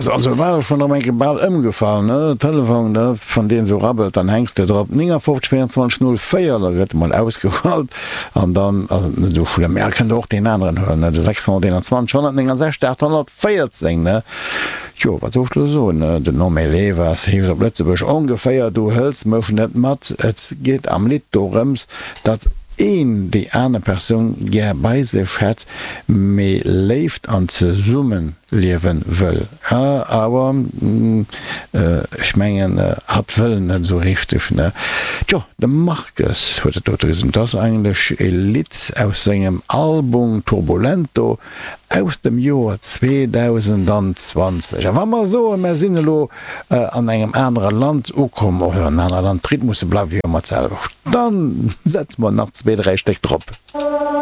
Also war ech schon erëm eng Kéier bal ëmgefall, ne? Telefon, ne, wann deen esou rabbelt, dann hänks de drop. 59 24 04, da gëtt emol ausgeschalt an dann ass et net esou schlëmm. Ja, kënnt der och deen aneren huelen, ne, de 621 169 814, ne? Jo, wat soll ech elo soen, ne? Den No me levas heescht op Lëtzebuergesch ongeféier Du hëls mech net mat. Et geet am Lidd dorëms, datt een déi aner Persoun gär bei sech hätt, mee Léift an Zesummen. Liewen wëll. Awer ech mengen hatt wëll net esou richteg, ne? Tjo, de Marcus huet dat dote gesot. Dat ass eigentlech e Lidd aus sengem Album Turbulento aus dem Joer 2020. A wa mer soen, mer sinn elo an engem anere Land ukomm, oder an en anere Land, d'Rhythmusse bleiwe jo ëmmer d'selwecht, dann setze mer nach zwee, dräi Stéck drop.